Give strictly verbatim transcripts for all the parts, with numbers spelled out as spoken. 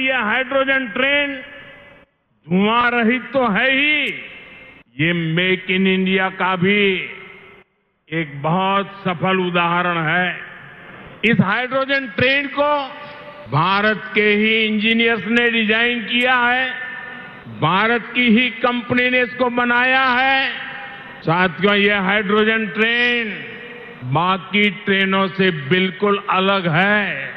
ये hydrogen train धुआं रहित तो है ही, ये मेक इन इंडिया का भी एक बहुत सफल उदाहरण है। इस हाइड्रोजन ट्रेन को भारत के ही इंजीनियर्स ने डिजाइन किया है, भारत की ही कंपनी ने इसको बनाया है। साथियों, ये हाइड्रोजन ट्रेन बाकी ट्रेनों से बिल्कुल अलग है।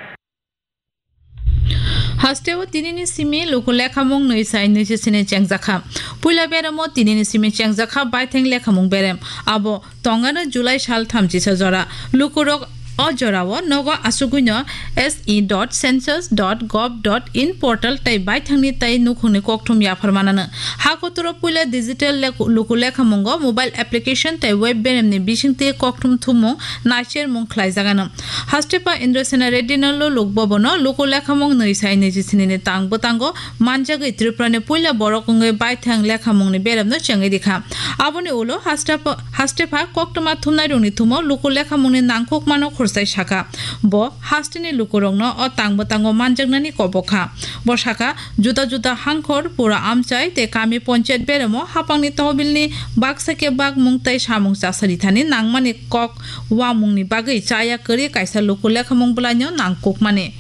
Hasteo tinini simi luku lekhamung nwi sai nwi sini chengjakha. Puila beremo tinini simi chengjakha baithang lekhamung berem. Abo tongano July sal thamchisa jora. Lukurok o jorao nogo asugwino S E dot census dot gov dot in portal tei baithangni tei nukhungni kokthum yaphar manano. Ha kotoro puila digital lek-, luku lekhamungo mobile application tei web beremni bisingtwi kokthum thumung naichermung khlaijagano. Hastepa Indrasena Reddy no luluk bobono luku lekhamung nwi sai nwi sini ni tang bwtango manjagwi Tripura ni puila borok wngwi baithang lekhamungni beremno chengwi rikha. Aboni ulo Hastepa, Hastepa koktwma thumnai rokni thumo luku lekhamungni nangkukmano khursai saka. Bo hasteni lukurokno o tang bwtango manjaknani kobok kha. Bo saka, juda juda hangkhor, pura amchai tei kami ponchayat beremo hapangni tohbilni baksa khe bakmung tei samung chasari thani nangmani kok uamungni bagwi chaya kwrwi kaisa luku lekhamung bwlaino nangkukmani.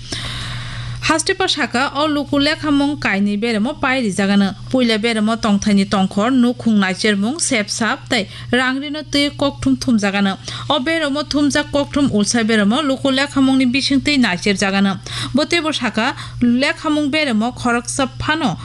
Hastepa saka, o luku lekhamung kainwi beremo pai rijagano. Puila beremo tongthaini tongkhor, nukhung naichermung, sepsap tei rangrino twi kokthum thumjagano. O beremo thumjak kokthum ulsa beremo luku lekhamungni bisingtwi naicherjagano. Bo teibo saka, lekhamung beremo khoroksa phano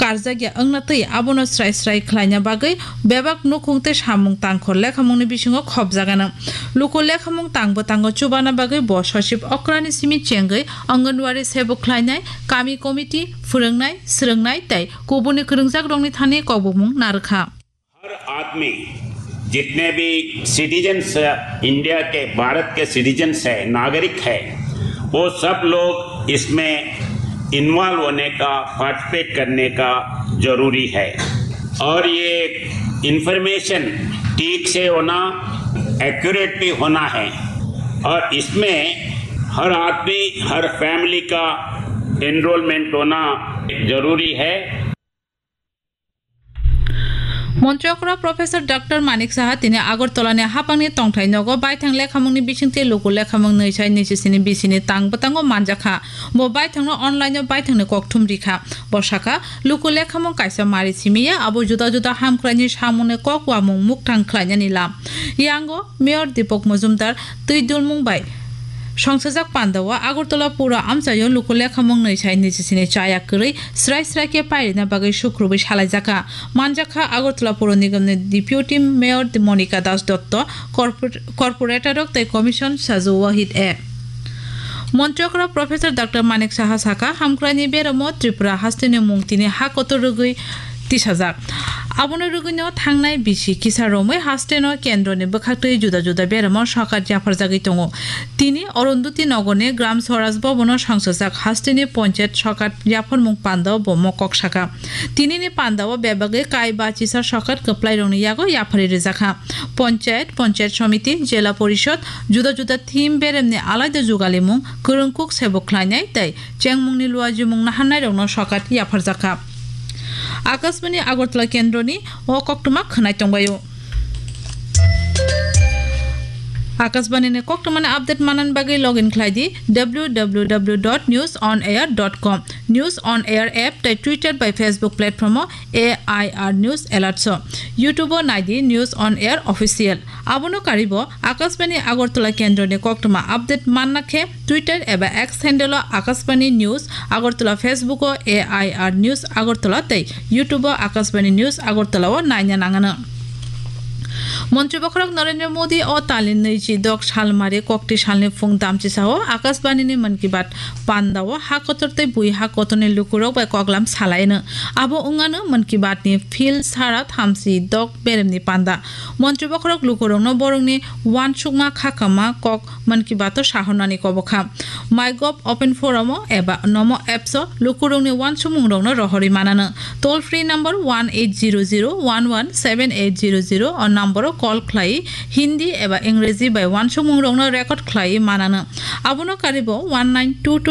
karjakya wngna twi abono srai srai khlaina bagwi bebak nukhung tei samung tangkhor lekhamungni bisingo khopjagano. Luku lekhamung tang bwtango chubana bagwi bo sosip okrani simi chengwi Anganwadi sebuk khlainai, kami committee, phwrwngnai, swrwngnai tei kubuni kwrwngjakrokni thani kokbumung narwkha. हर आदमी, जितने भी citizens India के, भारत के सिटीजन्स है, नागरिक है, वो सब लोग इसमें इन्वॉल्व होने का, पार्टिसिपेट करने का जरूरी है। और ये इंफॉर्मेशन ठीक से होना, एक्यूरेट भी होना है। और इसमें हर आदमी, हर फैमिली का एनरोलमेंट होना जरूरी है। Montri okra Professor Doctor Manik Saha tini Agartala ni hapangni tongthai nogo baithang lekhamungni bisingtwi luku lekhamung nwi sai nwi sini bisini tang bwtango manjakha. Bo baithangno online o baithangni kokthum rikha. Bo sakha, luku lekhamung kaisa mari simiya, abo juda juda hamkraini samungni kok uamung mukthang khlainani lam. Yango Mayor Deepak Majumdar twi dulmung bai songsajak pandao Agartala pura amchaio luku lekhamung nwi sai nwi sini chaya kwrwi srai srai khe pairina bagwi sukrubwi salaijakha. Manjakha Agartala Puro Nigamni Deputy Mayor Monika Das Dotto, corpor-, corporator rok tei commission Sazu Wahid A. Montri okra Professor Doctor Manik Saha sakha, hamkraini beramo Tripura hasteni mung tini ha kotor rwgwi tisajak. Abono rwgwino thangnai bisi kisa romwi hasteno kendroni bwkhaktwi juda juda beramo sokat yapharjagwi tongo. Tini Arundhati Nagarni Gram Swaraj Bhavan-o songsajak hasteni ponchayat sokat yapharmung pandao bo mokok sakha. Tinini pandao bebagwi kai bachisa sokat kwplairokni yago yapharwi rwjakha. Ponchayat, Ponchayat Samiti, Jela Porishod, juda juda theme beremni alaida jugalimung, kwrwngkuk sebo khlainai tei chengmungni luajimung naharnairokno sokat yapharjakha. Akashbani Agartala kendroni o koktwma khwnai tongbaio. Akashbani ni koktwmani update manna bagwi login khlai di W W W dot news on air dot com. News on Air app tei Twitter bai Facebook platform o A I R News Alerts o. YouTube o nai di News on Air Official. Abono karibo Akashbani Agartala kendroni koktwma update manna khe Twitter eba X handle o Akashbani News Agartala, Facebook o A I R News Agartala tei YouTube o Akashbani News Agartala o naina nangano. Montri bokhorok Narendra Modi o talni nwichi dok salmari kokti salni phung damchisa o Akashbani ni Mann Ki Baat panda o ha kotor tei bui ha kotorni lukurok bai koklam salaino. Abo wngano Mann Ki Baat ni phil sara thamchi dok beremni panda. Montri bokhorok lukurokno borokni uansukma khakama kok Mann Ki Baat o sahornani kobokha. MyGov Open Forum o eba Namo Apps o lukurokni uansukmungrokno rohorwi manano. Toll free number one eight zero zero one one seven eight zero zero o number o call khlai Hindi eba Ingreji bai uansukmungrokno record khlai manano. Abono karibo one nine two two